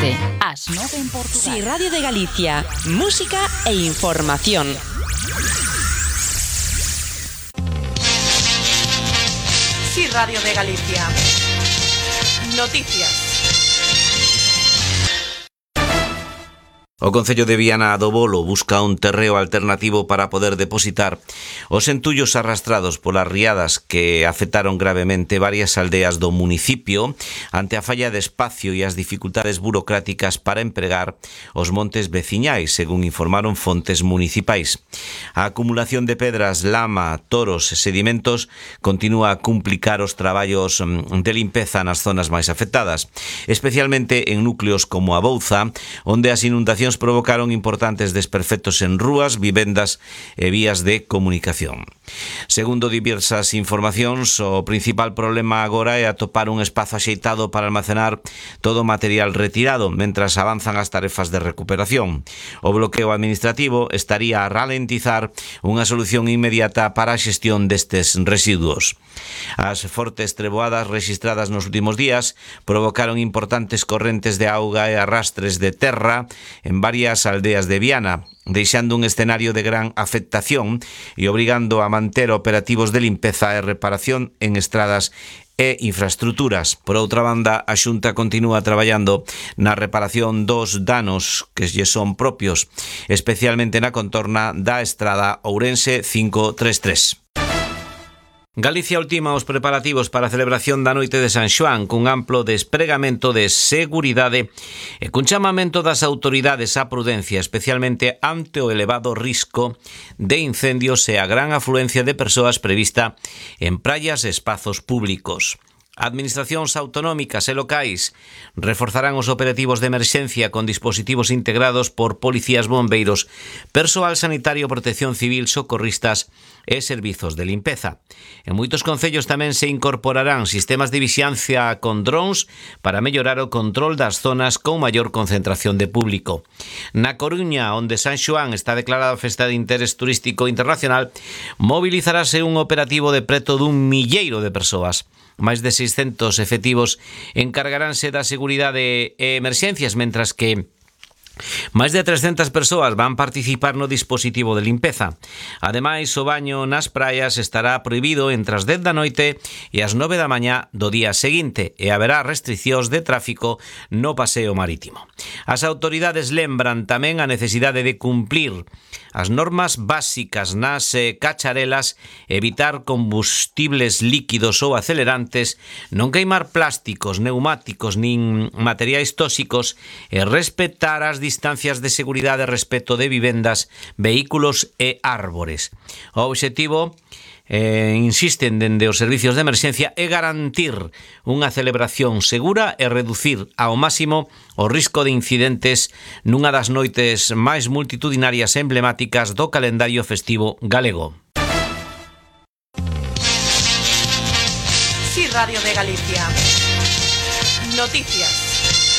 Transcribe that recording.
7, ás 9 en Portugal. Si Radio de Galicia, música e información. Si Radio de Galicia. Noticias. O Concello de Viana do Bolo busca un terreo alternativo para poder depositar os entullos arrastrados polas riadas que afectaron gravemente varias aldeas do municipio ante a falla de espacio e as dificultades burocráticas para empregar os montes veciñais, según informaron fontes municipais. A acumulación de pedras, lama, toros e sedimentos continúa a complicar os traballos de limpeza nas zonas máis afectadas, especialmente en núcleos como a Bouza, onde as inundacións provocaron importantes desperfectos en rúas, vivendas e vías de comunicación. Segundo diversas informacións, o principal problema agora é atopar un espazo axeitado para almacenar todo o material retirado, mentras avanzan as tarefas de recuperación. O bloqueo administrativo estaría a ralentizar unha solución inmediata para a xestión destes residuos. As fortes treboadas rexistradas nos últimos días provocaron importantes correntes de auga e arrastres de terra en varias aldeas de Viana, deixando un escenario de gran afectación e obrigando a manter operativos de limpeza e reparación en estradas e infraestructuras. Por outra banda, a Xunta continúa traballando na reparación dos danos que lle son propios, especialmente na contorna da estrada Ourense 533. Galicia ultima os preparativos para a celebración da Noite de San Xoán cun amplo despregamento de seguridade e cun chamamento das autoridades á prudencia, especialmente ante o elevado risco de incendios e a gran afluencia de persoas prevista en praias e espazos públicos. Administracións autonómicas e locais reforzarán os operativos de emerxencia con dispositivos integrados por policías, bombeiros, persoal sanitario, protección civil, socorristas e servizos de limpeza. En moitos concellos tamén se incorporarán sistemas de vixiancia con drones para mellorar o control das zonas con maior concentración de público. Na Coruña, onde San Xoán está declarada festa de interés turístico internacional, mobilizarase un operativo de preto dun 1.000 de persoas. Máis de 600 efectivos encargaránse da seguridade e emerxencias, mentras que máis de 300 persoas van participar no dispositivo de limpeza. Ademais, o baño nas praias estará prohibido entre as 10 da noite e as 9 da mañá do día seguinte e haberá restriccións de tráfico no paseo marítimo. As autoridades lembran tamén a necesidade de cumplir as normas básicas nas cacharelas, evitar combustibles líquidos ou acelerantes, non queimar plásticos, neumáticos nin materiais tóxicos e respetar as distancias de seguridade respecto de vivendas, vehículos e árbores. O obxectivo, insisten dende os servicios de emerxencia, é garantir unha celebración segura e reducir ao máximo o risco de incidentes nunha das noites máis multitudinarias e emblemáticas do calendario festivo galego. Si Radio de Galicia. Noticias.